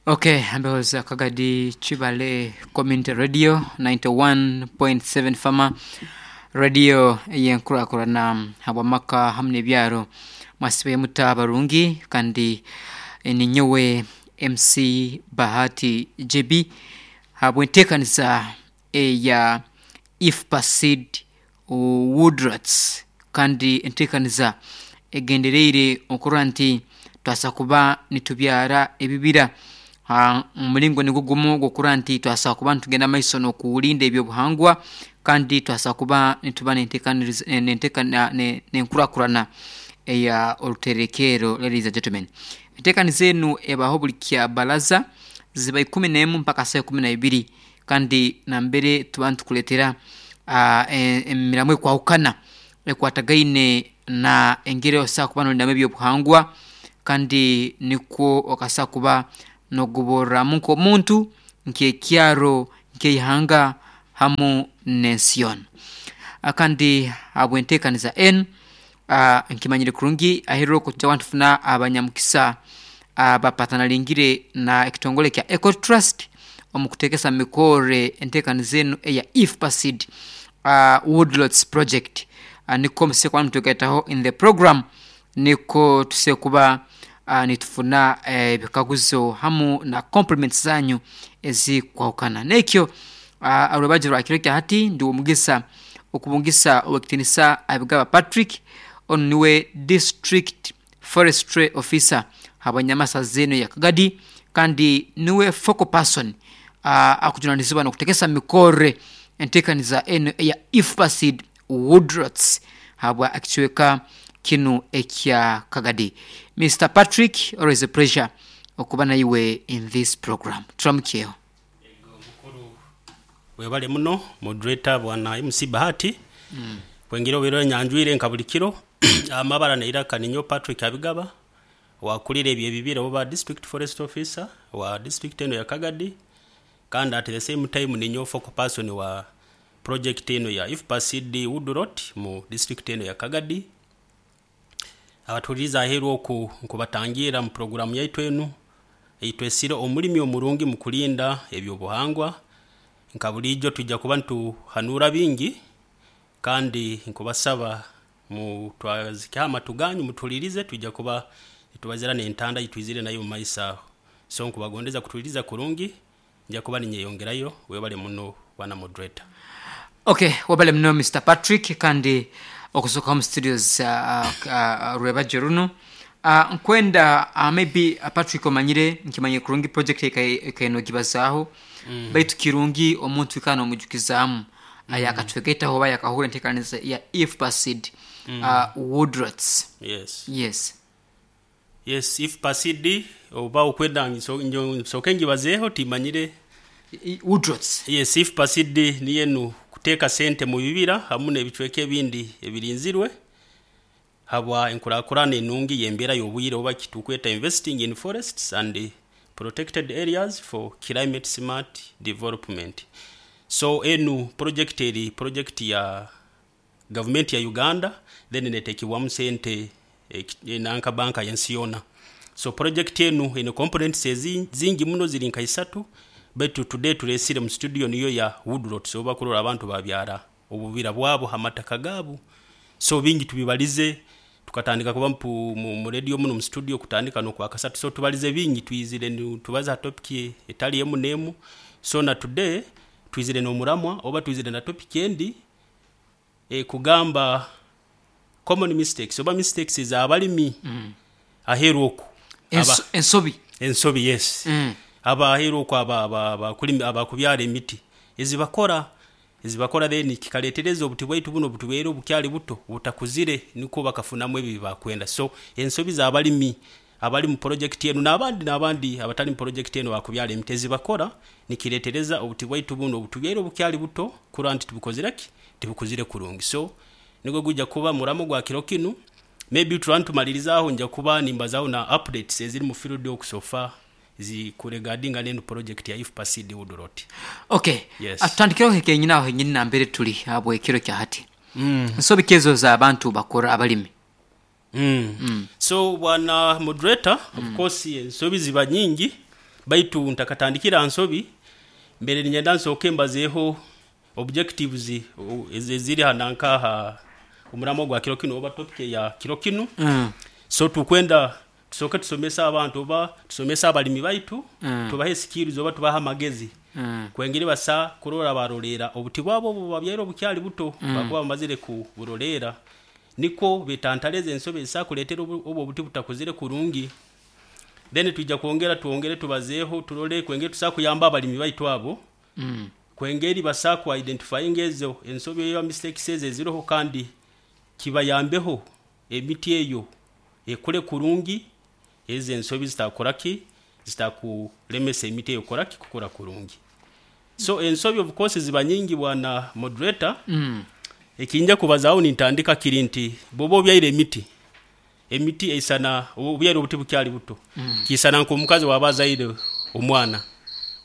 Okay, ambehoza Kagadi Kibale Community Radio 91.7 Fama Radio ey'enkurakurana habw'amaka hamu n'ebyaro. Mwasibayo muta abarungi kandi ninyowe MC Bahati JB habw'enteekaniza eya IFPASID Woodrots kandi enteekaniza egendereire okurora nti twasa kuba nitubyara ebibira ha omulingo nigwo gumu ogw'okurora nti twasa kuba nitugenda mumaiso n'okulinda ebyobuhangwa kandi twasa kuba nituba n'enteekaniriza n'enteekana n'enkurakurana eya oruterekerro ladies and gentlemen. Enteekaniza enu ebaho buli kyabaraza ziba ikumi n'emu mpaka saaha ikumi na ibiri kandi nambere tuba nitukuleetera emiramwa ekwahukana ekwatagaine na engeri osobola kuba nolindamu ebyobuhangwa kandi nikwo okasobola kuba nogoborramu nk'omuntu, nk'ekyaro, nk'eihanga hamu n'ensi yoona. Kandi habw'enteekaniza enu, nkimanyire kurungi aheeru oku nitwija kuba nitufuna abanyamukisa abapatanalingire na ekitongole kya Eco Trust omu kuteekesa mu mikorre enteekaniza enu eya IFPASID Woodlots Project. Nikwo musobola kuba nimutwegaitaho in the program nikwo tusobola kuba nitufuna ebikaguzo hamu na compliments zanyu ezikwahukana. Nekyo orwebagyo rwa kiro kya hati ndi w'omugisa okubungisa ow'ekitiinisa Abigaba Patrick, onu niwe District Forestry Officer habw'enyamasaza enu eya Kagadi kandi niwe focal person akujunanizibwa n'okutegesa mikorre enteekaniza enu eya IFPASID Woodrots habwa ekicweka kinu ekya Kagadi. Mister Patrick, always a pleasure okuba naiwe in this program. Turamukyeho. Ego mukuru webale muno moderator bwana MC Bahati kwengeri obaire onyanjwire nka buli kiro. Amabara neiraka ninyowe Patrick Abigaba owakulira ebyo ebibira oba district forest officer wa district enu eya Kagadi kandi at the same time ninyowe focal person wa project enu eya IFPACD Woodlot mu district enu eya Kagadi. Abatuhuliriize aheeru oku nkubatangiira mu puroguramu yaitu enu eitwesire Omulimi Omurungi mu Kulinda Eby'obuhangwa. Nka buriijo twija kuba nituhanuura bingi kandi nkubasaba mutwazikeho amatu ganyu mutuhuliirize twija kuba nitubazira n'entanda ei twizire nayo omu maiso aho. So nkubagondeza kutuhuliriza kurungi, nja kuba ninyeyongerayo. Webale muno bwana moderator. Ok, webale muno Mister Patrick kandi okusoka omu studios rwebagyo runu. Nkwenda maybe Patrick omanyire nkimanyire kurungi project ekaire nogibazaaho baitu kirungi omuntu kwikara nomwijukizaamu ayakatwegaitaho oba ayakahurra enteekaniza ya IFPACD Woodrots. Yes. Yes. Yes, IFPACD oba okwenda nsooke ngibazeeho timanyire. Woodrots. Yes, IFPACD niyo enu kuteeka sente mu bibira hamu n'ebicweka ebindi ebirinzirwe habwa enkurakurana enungi y'embeera y'obwire oba kitukweta investing in forests and protected areas for climate smart development. So enu project eri project ya gavumenti ya Uganda then netekibwamu sente nanka banka y'ensi yoona. So project enu eine components zingi muno ziri nka isatu baitu today turesire mu studio niyo ya Woodlots obu bakurora abantu babyara obubira bwabo ha mataka gaabu. So bingi tubibalize tukatandika kuba mu radio munu mu studio kutandika n'okwakasatu. So tubalize bingi twizire nitubaza ha topic etali emu n'emu. So na today twizire n'omuramwa oba twizire na topic endi ekugamba common mistakes oba mistakes ez'abalimi aheeru oku. Ensobi. Ensobi yes. Aba aheeru oku abakubyara emiti ezibakora ezibakora then kikaleetereza obuti bwaitu bunu obutubaire obukyali buto butakuzire nikwo bakafunamu ebi ebibakwenda. So ensobi z'abalimi abali mu porojekiti enu n'abandi n'abandi abatali mu porojekiti enu abakubyara emiti ezibakora nikireetereza obuti bwaitu bunu obutubyaire obukyali buto kurora nti tibukozire ki? Tibukuzire kurungi. So nigwo gwija kuba muramo gwa kiro kinu. Maybe turaba nitumalirizaho nja kuba nimbazaho na updates eziri mu field oku so far zikuregadinga n'enu porojekiti ya IFPACD Woodlot. Ok, Yes. Tutandikireho hekenyini aho henyini nambere tuli habw'ekiro kya hati. Nsobi ki ezo ez'abantu bakora abalimi? So bwana moderator, of course ensobi ziba nyingi. Baitu ntakatandikira nsobi, mbere ninyenda nsooke mbazeeho objectives eziri hananka omuramo gwa kiro kinu oba topic ya kiro kinu. So tukwenda tusooke tusomese abantu oba tusomese abalimi baitu, tubahe skills oba tubahe amagezi kwengeri basa kurora barolera obuti bwabo obu babyaire obukyali buto, bakuba bamazire kuburolera nikwo betantale ezo ensobi ezisobola kuleetera obu obuti butakuzire kurungi. Then twija kwongera twongere tubazeeho turole kwengeri tusobola kuyamba abalimi baitu abo, kwengeri basobola ku identifying ezo ensobi oba mistakes ezo eziroho, kandi kibayambeho emiti eyo ekure kurungi, ezo ensobi zitakoraki, zitakulemesa emiti eyo kukoraki, kukura kurungi. So ensobi of course ziba nyingi bwana moderator. Ekinja kubazaho nintandika kiri nti bwoba obyaire emiti, emiti eisana obyaire obuti bukyali buto, kiisana nk'omukazi waba azaire omwana,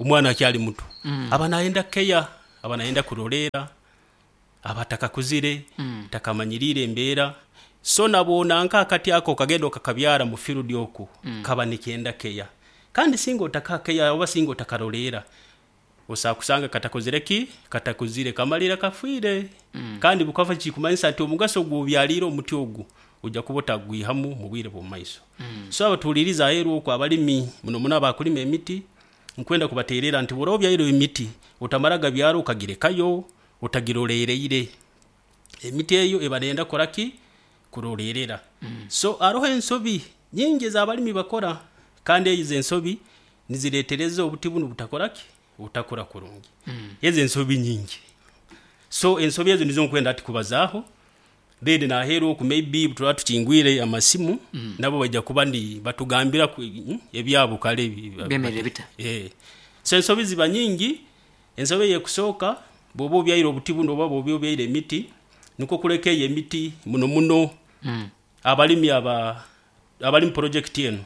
omwana akyali muto, aba nayenda care, aba nayenda kuroleera, aba atakakuzire, takamanyiriire embeera. So nabona nk'akati ako okagenda okakabyara mu field oku, kaba nikenda care. Kandi singa otakaha care oba singa otakaroleera, osobola kusanga katakozire ki? Katakuzire, kamalira kafiire. Kandi bukafa kikumanyisa nti omugaso gw'obyaliire omuti ogu ojja kuba otagwihamu mu bwire bw'omu maiso. So abatuhuliriza aheeru oku abalimi muno muno abakulima emiti, nkwenda kubateerera nti bw'oraba obyaire emiti, otamara gabyara okagirekayo otagirolereire. Emiti eyo eba neyenda kukora ki? Kurolerera. So haroho ensobi nyingi ez'abalimi bakora, kandi ezo ensobi nizireetereza obuti bunu butakora ki? Butakura kurungi. Ezo ensobi nyingi. So ensobi ezo nizo nkwenda hati kubazaaho, then naheeru oku maybe turaba tukingwire amasimu, nabo baija kuba ni batugambira ebyabo kale Byemerere bita? So ensobi ziba nyingi. Ensobi ey'ekusooka, bw'oba obyaire obuti bunu oba bw'oba obyaire emiti, nikwo kuleka eyo emiti muno muno abalimi aba abali mu project enu,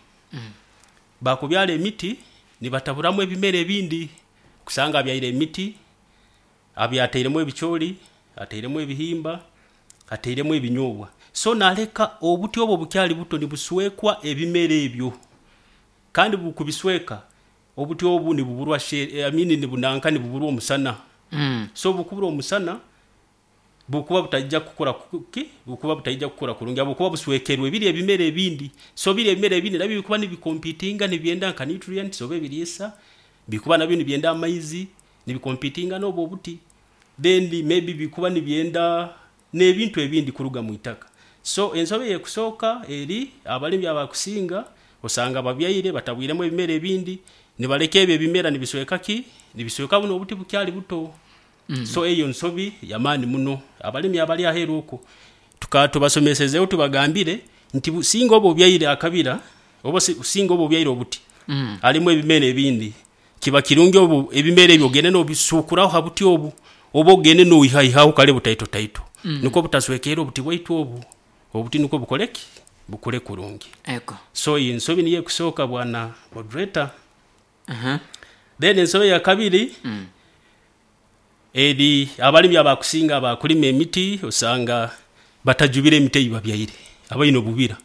bakubyara emiti nibataburamu ebimera ebindi. Kusanga abyaire emiti, abyatairemu ebicooli, atairemu ebihimba, atairemu ebinyobwa. So naleka obuti obwo bukyali buto nibuswekwa ebimera ebyo. Kandi bukubisweka, obuti obu nibuburwa I mean nibunanka nibuburwa omusana. So bukubura omusana, bukuba butaija kukura ki? Bukuba butaija kukura kurungi habwokuba buswekerwe biri ebimera ebindi. So biri ebimera ebindi nabyo bikuba nibicompetinga nibyenda nka nutrients oba ebiriisa, bikuba nabyo nibyenda amaizi, nibicompetinga n'obwo obuti. Then maybe bikuba nibyenda n'ebintu ebindi kuruga mu itaka. So ensobi ey'ekusooka eri abalimi abakusinga osanga babyaire batabwiremu ebimera ebindi, nibaleka ebyo ebimera nibisweka ki? Nibisweka buno obuti bukyali buto. So eyo nsobi y'amaani muno. Abalimi abali aheeru oku tuka tubasomesezeho tubagambire nti singa oba obyaire akabira oba singa oba obyaire obuti harimu ebimera ebindi, kiba kirungi obu ebimera ebyo ogende n'obisuukuraho ha buti obu, oba ogende n'oihaihaho kale butaito taito, nukwo butaswekerra obuti bwaitu obu, obuti nukwo bukole ki? Bukure kurungi. Ego. So eyo ensobi niyo ekusooka bwana moderator. Then ensobi eya kabiri, eri abalimi abakusinga abakulima emiti osanga batajubire emiti ei babyaire, abaine obubira.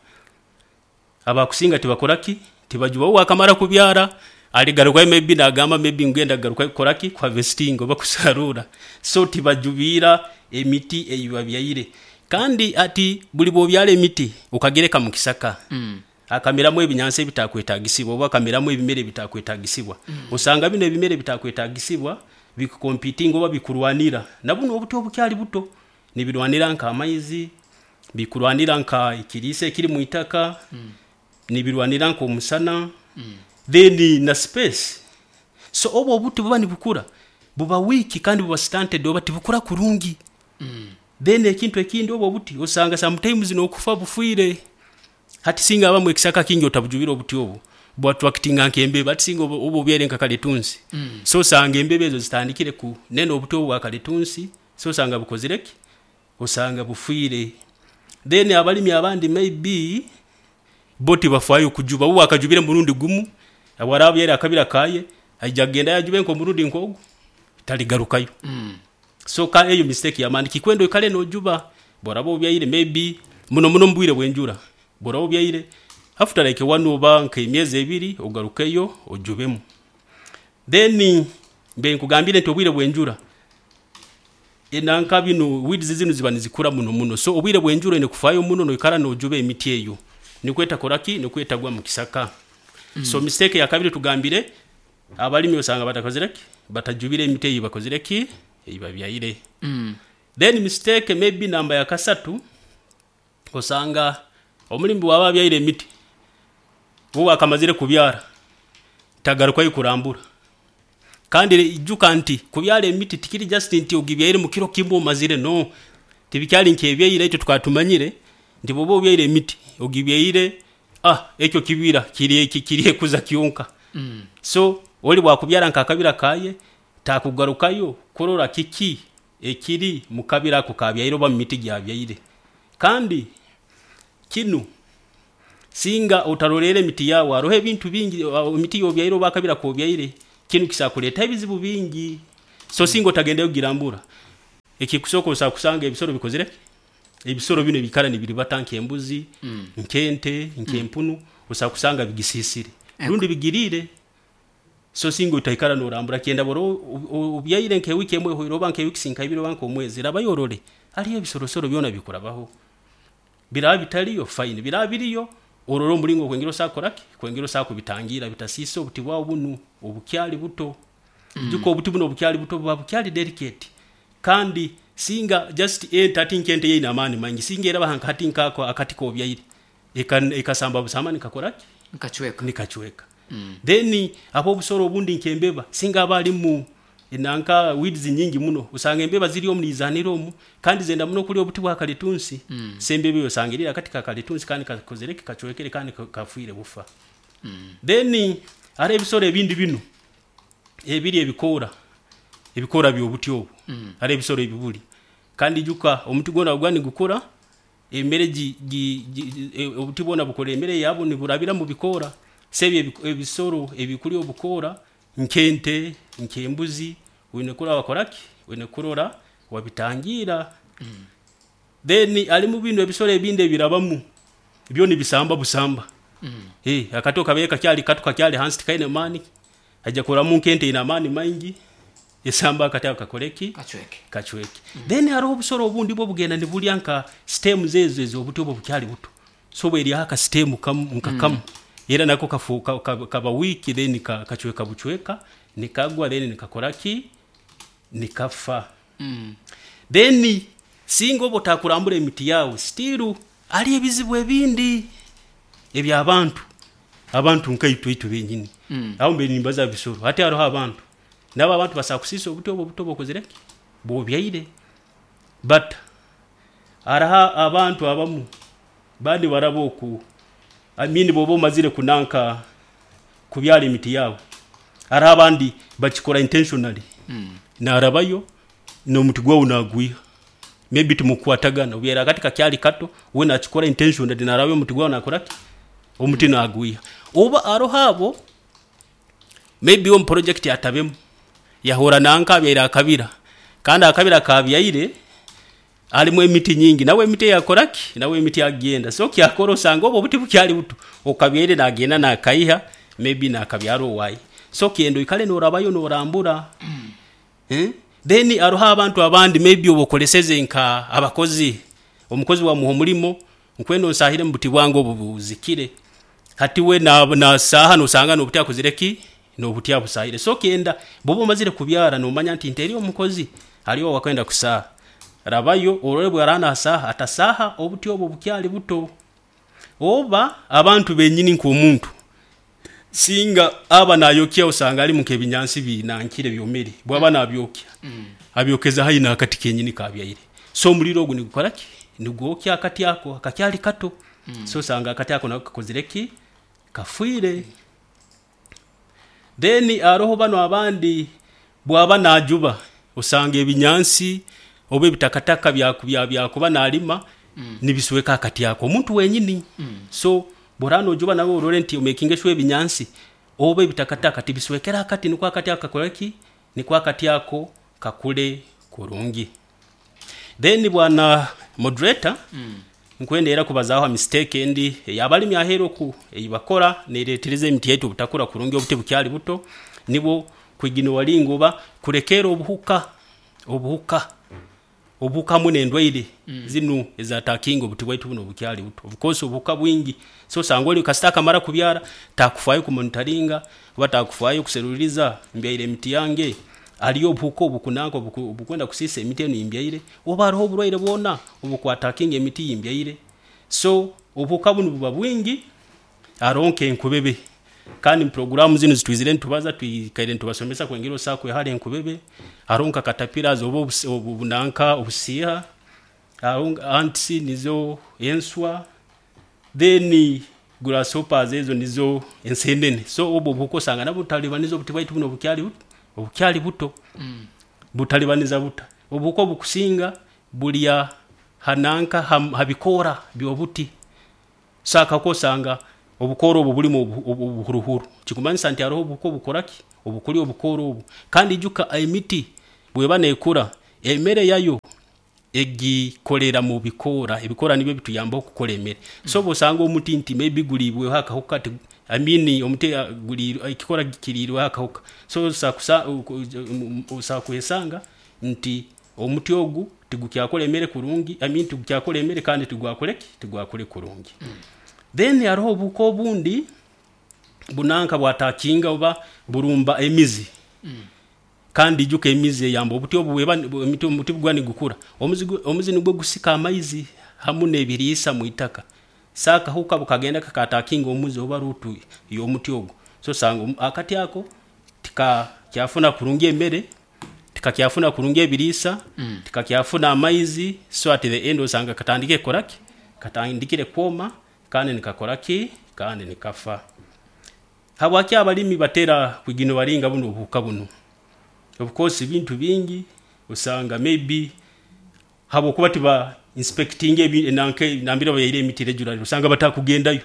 Abakusinga tibakora ki? Tibajuba. Obu akamara kubyara, aligarukayo maybe nagamba maybe ngenda kugarukayo kukora ki? Kuharvestinga oba kusaruura. So tibajubiira emiti ei babyaire. Kandi hati buli bw'obyara emiti okagireka mu kisaka, hakameramu ebinyansi ebitakwetagisibwa oba hakameramu ebimera ebitakwetagisibwa. Osanga binu ebimera ebitakwetagisibwa bikucompetinga oba bikurwanira na bunu obuti obukyali buto. Nibirwanira nk'amaizi, bikurwanira nka ekiriisa ekiri mu itaka, nibirwanira nk'omusana, then na space. So obu obuti buba nibukura, buba weak kandi buba stunted oba tibukura kurungi. Then ekintu ekindi obu obuti osanga sometimes n'okufa bufiire. Hati singa habamu ekisaka kingi otabujubire obuti obu, bwattractinga nk'embeba. Hati singa oba obyaire nka kalitunsi, so osanga embeba ezo zitandikire kunena obuti obu bwa kalitunsi, so osanga bukozire ki? Osanga bufiire. Then abalimi abandi maybe bo tibafaayo kujuba, obu akajubire murundi gumu, obu araaba abyaire akabira kaye, aija kugendayo ajube nk'omurundi nk'ogu, taligarukayo. So ka eyo mistake y'amaani, kikwenda oikale n'ojuba. Bw'oraba obyaire maybe muno muno mu bwire bw'enjura, bw'oraba obyaire after like one oba nk'emyezi ebiri ogarukeyo ojubemu. Then mbe nkugambire nti obwire bw'enjura enanka binu weeds zinu ziba nizikura muno muno, so obwire bw'enjura oine kufaayo muno noikara noojuba emiti eyo nikwo etakora ki, nikwo etagwa mu kisaka. So mistake eya kabiri tugambire abalimi osanga batakozire ki, batajubire emiti ei bakozire ki, ei babyaire. Then mistake maybe namba ya kasatu, osanga omulimi bwaba abyaire emiti, obu akamazire kubyara tagarukayo kurambura. Kandi ijuka nti kubyara emiti tikiri just nti ogibyaire mu kiro kimu omazire, no, tibikyali nk'ebyaira itwe tukaba tumanyire nti bwoba obyaire emiti, ogibyaire, ekyo kibira kiri kiryekuza kyonka. So oli bwakubyara nk'akabira kaye, takugarukayo kurora kiki ekiri mu kabira ako kaabyaire oba mu miti gyabyaire. Kandi kinu singa otarolerra emiti yaawe, haroho ebintu bingi emiti y'obyaire oba akabira k'obyaire, kinu kisobora kuleetaho ebizibu bingi. So singa otagendeyo kugirambura, ekikusooka osobola kusanga ebisoro bikozire ki, ebisoro binu ebiikara nibiribata nk'embuzi, nk'ente, nk'empunu, osobola kusanga bigisiisire rundi bigiriire. So singa otaikara noorambura, kyenda bw'oraba obyaire nk'ewiiki emu ehoire oba nk'eweeks nka ibiri oba nk'omwezi, rabayo orole haliyo ebisorosoro byona bikurabaho. Biraaba bitaliyo, fine, biraaba biriyo, orole omulingo kwengera osobola kukora ki, kwengera osobola kubitangira bitasiisa obuti bwawe bunu obukyali buto. Ijuka obuti bunu obukyali buto buba bukyali delicate, kandi singa just ente hati nk'ente yo eine amaani maingi, singa eraba hati nkaako akati k'obyaire, ekasamba busamba nikakora ki, Nikacweka. Nikacweka. Then ab'obusoro obundi nk'embeba, singa haba harimu nanka weeds nyingi muno, osanga embeba ziri omu niizaanira omu, kandi zenda muno kulya obuti bwa kalitunsi, so embeba eyo osanga eriire akati ka kalitunsi kandi kakozire ki, kacwekere kandi kafiire bufa. Then haroho ebisoro ebindi binu ebirya ebikoora, ebikoora by'obuti obu, haroho ebisoro ebibulya. Kandi ijuka omuti gwona obu guba nigukura, emere obuti bwona bukora emere yabwo niburabira mu bikoora, so ebi ebisoro ebikulya obukoora nk'ente, nk'embuzi, oine kurora wakora ki, oine kurora wabitangira. Then harimu binu ebisoro ebindi ebirabamu, byo nibisamba busamba. Akati obu kabaire kakyali kato kakyali hansi tikaine maani, haija kurabamu nk'ente eine amaani maingi, esambe akati ako kakole ki, Kacweke. Kacweke. Then haroho obusoro obundi bwo bugenda nibulya nka stems ezo ez'obuti obu obukyali buto. So obu eryaho aka stem kamu nka kamu, era nako kafuuka kaba weak, then kacweka bucweka, nikagwa, then nikakora ki, nikafa. Then singa oba otakurambura emiti yaawe, still hariyo ebizibu ebindi eby'abantu, abantu nkaitwe itwe benyini. Aho mbaire nimbaza bisoro, hati haroho abantu. Nabo abantu basobora kusiisa obuti obu obuto obu okozire ki, bw'obyaire. But haroho abantu abamu baba nibaraba oku, I mean bw'oba omazire kunanka kubyara emiti yaawe, haroho abandi bakikora intentionally, naarabayo n'omuti gwawe naagwiha. Maybe timukukwatagana, obyaire akati kakyali kato, we naakikora intentionally naarabayo omuti gwawe naakora ki, omuti naagwiha. Oba haroho abo, maybe we omu project atabemu, yahurra nanka abyaire akabira, kandi akabira akaabyaire harimu emiti nyingi, nawe emiti eyakora ki, nawe emiti agyenda. So kyakora osanga obu obuti bukyali buto, okabyaire naagenda naakaiha, maybe naakabyara owaaye. So kyenda oikale noorabayo noorambura. Then haroho abantu abandi maybe obu okoleseze nka abakozi, omukozi wamuha omulimo, nkwenda onsaahire mu buti bwange obu buzikire. Hati we nasaaha nosanga n'obuti akozire ki, n'obuti abusaahire. So kyenda bw'oba omazire kubyara noomanya nti nteeriire omukozi, hariyo owaakwenda kusaaha, rabayo orole obu araaba naasaaha, atasaaha obuti obu obukyali buto. Oba abantu benyini nk'omuntu, singa aba naayokya osanga harimu nk'ebinyansi binankire byomere, bwaba naabyokya, abyokeza haihi n'akati kenyini kaabyaire. So omuriro ogu nigukora ki, nigwokya akati ako akakyali kato. So osanga akati ako nako kakozire ki, kafiire. Then haroho banu abandi bwaba naajuba, osanga ebinyansi oba ebitakataka byakuba naalima nibisweka akati ako, omuntu wenyini. So bw'oraaba noojuba nawe orole nti omekinge sure ebinyansi oba ebitakataka tibiswekere akati nikwo akati ako kakore ki, nikwo akati ako kakure kurungi. Then bwana moderator, nkwenda era kubazaaho ha mistake endi ey'abalimi aheeru oku ei bakora neereetereza emiti yaitu obutakura kurungi obuti bukyali buto, nibwo. Kwiginowaringa oba kurekeera obuhuka obuhuka obuhuka hamu n'endwaire zinu ezatakinga obuti bwaitu bunu obukyali buto. Of course obuhuka bwingi, so osanga oli kasita akamara kubyara takufaayo kumonitaringa oba takufaayo kuseruliiriza mbyaire emiti yange, haliyo obuhuka obukunanka obukwenda kusiisa emiti enu eyimbyaire oba haroho oburwaire bwona obukwatakinga emiti eyimbyaire. So obuhuka bunu buba bwingi, haroho nk'enkubebe, kandi mu puroguraamu zinu ezitwizire nitubaza twikaire nitubasomesa kwengeri osobola kwehara enkubebe, haroho nka caterpillars oba obunanka obusiiha, haroho ants nizo enswa, then grasshoppers ezo nizo ensenene. So obu obuhuka osanga nabwo butalibaniza obuti bwaitu bunu obukyali obukyali buto. Butalibaniza buta? Obuhuka obukusinga bulya ha nanka ha bikoora by'obuti. So akahuka osanga obukoora obu bulimu obuhuruhuru, ekikumanyisa nti haroho obuhuka obukukora ki? Obukulya obukoora obu. Kandi ijuka emiti bweba neekura, emere yayo egikolera mu bikoora, ebikoora nibyo bituyambaho kukora emere. So obu osanga omuti nti maybe guliibweho akahuka, I mean omuti ekikoora kiriirweho akahuka, so osobola kwesanga nti omuti ogu tigukyakora emere kurungi, I mean tigukyakora emere kandi tigwakore ki? Tigwakure kurungi. Then haroho obuhuka obundi bunanka bwatakinga oba burumba emizi. Kandi ijuka emizi eyamba obuti obu bweba omuti obu guba nigukura, omuzi nugwo gusika amaizi hamu n'ebiriisa mwitaka. So akahuka obu kagenda kakatakinga omuzi oba root y'omuti ogu, so osanga akati ako tikakyafuna kurungi emere, tikakyafuna kurungi ebiriisa, tikakyafuna amaizi, so at the end osanga katandikire kukora ki? Katandikire kwoma kandi nikakora ki? Kandi nikafa. Habwaki abalimi batera kwiginowaringa bunu obuhuka bunu? Of course ebintu bingi osanga maybe habwokuba tiba inspectinga nanka nambere babyaire emiti regularly osanga batakugendayo.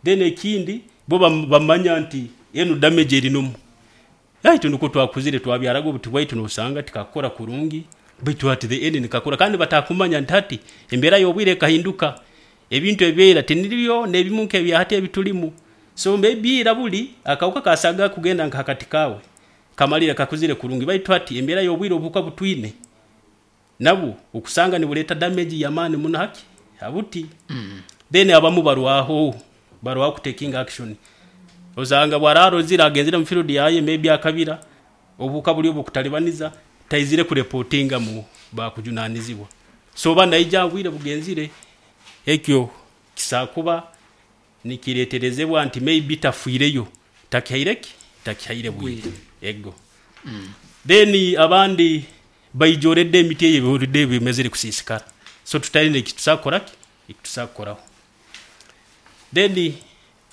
Then ekindi bo bamanya nti enu damage eri nomu. Itwe nukwo twakuzire twabyaraga obuti bwaitu nosanga tikakukora kurungi baitu at the end nikakura kandi batakumanya nti hati embeera y'obwire ekahinduka, ebintu ebya ira tinibyo n'ebimu nk'ebya hati ebitulimu. So maybe ira buli akahuka kasaga kugenda nka hakati kaawe kamalire kakuzire kurungi baitu hati embeera y'obwire obuhuka butwine nabwo okusanga nibureeta damage y'amaani muno haki? Ha buti. Then abamu barwaho, barwaho kutakinga action. Osanga obu araaba arozire agenzire mu field yaye maybe akabira, obuhuka buli obukutalibaniza, taizire kureportinga mu bakujunaanizibwa. So oba naija obwire bugenzire, ekyo kisobora kuba nikireeterezebwa nti maybe tafiireyo, takihaire ki? Takihaire bwire. Ego. Then abandi baija already emiti eyo already eba emazire kusiisikara. So tutaine eki tusobora kukora ki? Eki tusobora kukoraho. Then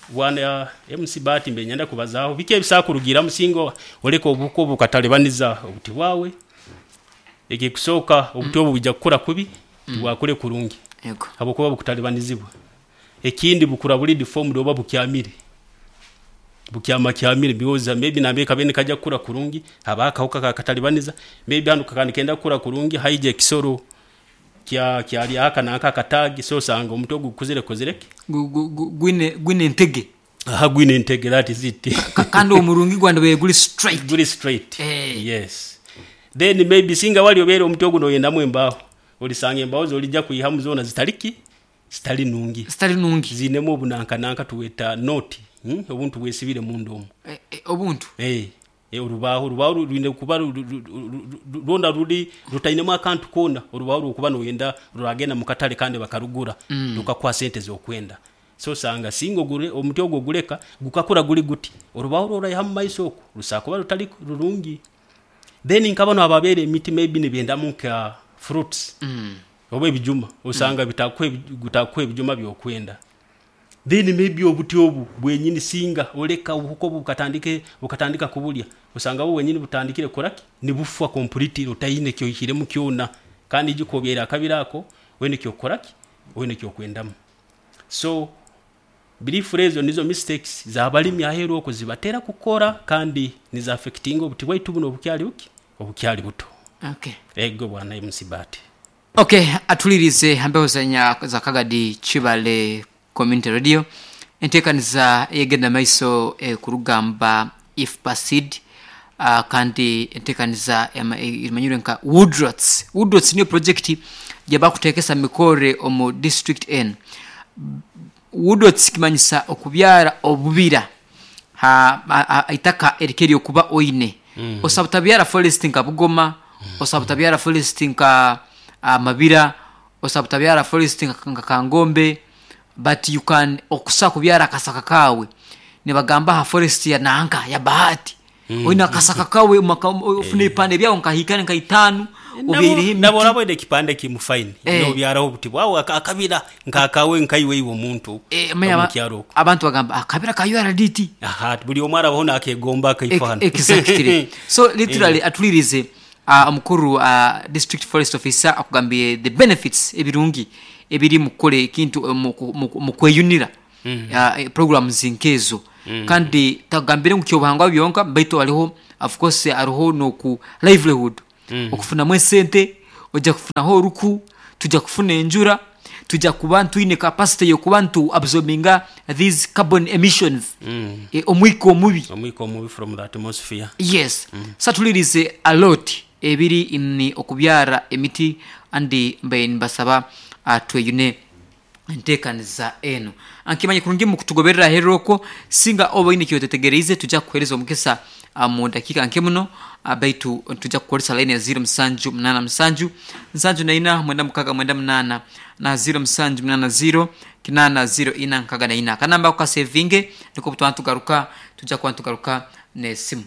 bwana MC Bahati mbaire niinyenda kubazaaho biki ebisobora kurugiiramu singa oleka obuhuka obu bukatalibaniza obuti bwawe. Ekikusooka obuti obu bwija kukura kubi, tibwakure kurungi Yego. habwokuba bukutalibanizibwa. Ekindi bukura buri deformed oba bukyamire, bukyamakyamire because maybe nambere kabaire nikaija kukura kurungi habaho akahuka kakatalibaniza, maybe hanu kakaba nikenda kukura kurungi haija ekisoro kyaryaho aka nanka akataagi so osanga omuti ogu gukuzire kukozire ki? Gwine entege. Aha gwine entege that is it. Kandi omurungi gwandibaire guri straight. Guri straight. Eh. Yes. Then maybe singa wali obaire omuti ogu noyendamu embaaho, olisanga embaaho zolija kwihamu zoona zitali ki? Zitali nungi. Zitali nungi. Ziinemu obunankananka tubweta knot, obuntu bwesibire munda omu. Obuntu? Eh. Orubaaho, orubaaho rwine kuba rwona ruri rutainemu akantu koona, orubaaho rw'okuba noyenda ruragenda mu katale kandi bakarugura rukakuha sente ez'okwenda. So osanga singa ogure omuti ogu oguleka gukakura guri guti, orubaaho orworaiha mu maiso oku rusobora kuba rutari rurungi. Then nka banu ababyara emiti maybe nibendamu nka fruits oba ebijuma, osanga bitakuha ebijuma by'okwenda. Then maybe obuti obu bwenyini singa oleka obuhuka obu bukatandika kubulya, osanga bwo bwenyini butandikire kukora ki? Nibufwa completely otaine eki oihiremu kyona. Kandi ijuka obyaire akabira ako, oine eki okukora ki? Oine eki okwendamu. So briefly ezo nizo mistakes z'abalimi aheeru oku zibatera kukora kandi nizi affectinga obuti bwaitu bunu obukyali buki? Obukyali buto. Okay. Ego bwana MC Bahati. Ok atulirize ha mpewo za Kagadi Kibale Community Radio entekaniza eyegenda maiso ekurugamba IFPA Seed. Kandi entekaniza emanyirwe nka Woodrots. Woodrots niyo project gyebakutekesa mikore omu district N. Woodrots kimanyisa okubyara obubira ha itaka erike eryokuba oine. Osobola butabyara forest nka Bugoma, osobola butabyara forest nka Mabira, osobola butabyara forest nka Kangombe, but you can okusobola kubyara akasaka kaawe. Nibagamba ha forest ya nanka ya Bahati. Oine akasaka kawe ofuna ebipande byawe nkahika nka itaanu obyaireho Nabo emiti. oraba oine ekipande kimu fine, nobyaraho obuti bwawe akabira nk'akawe nkaiwe iwe omuntu Manya omu kyaro okwo. Abantu bagamba akabira ka URDT. Aha, buli omu arabaho nakegomba akaifo hanu. Exactly. So literally atulirize omukuru district forest officer akugambire the benefits ebirungi ebiri mu kukora ekintu omu kweyunira programs nkezo. Kandi takugambire ngu kyobuhangwa byonka baitu hariho of course hariho noku livelihood okufunamu esente, oija kufunaho oruku, tuija kufuna enjura, tuija kuba twine capacity yokuba nitu absorbinga these carbon emissions, omwika omubi. Omwika omubi from the atmosphere. Yes. So atulirize a lot ebiri ni okubyara emiti andi mbaire nimbasaba tweyune entekaniza enu. Nkimanya kurungi mukutugoberera aheru okwo, singa oba oine ekyotetegereize tuja kukuhereza omukisa mu dakiika nke muno, baitu nituja kukoresa line ya ziro musanju munana musanju, nsanju na ina, mwenda mukaga mwenda munana na ziro musanju munana ziro, kinana ziro ina nkaga na ina. Akanamba ako kasevinge, nikwo butwaba nitugaruka, tuja kuba nitugaruka n'esimu.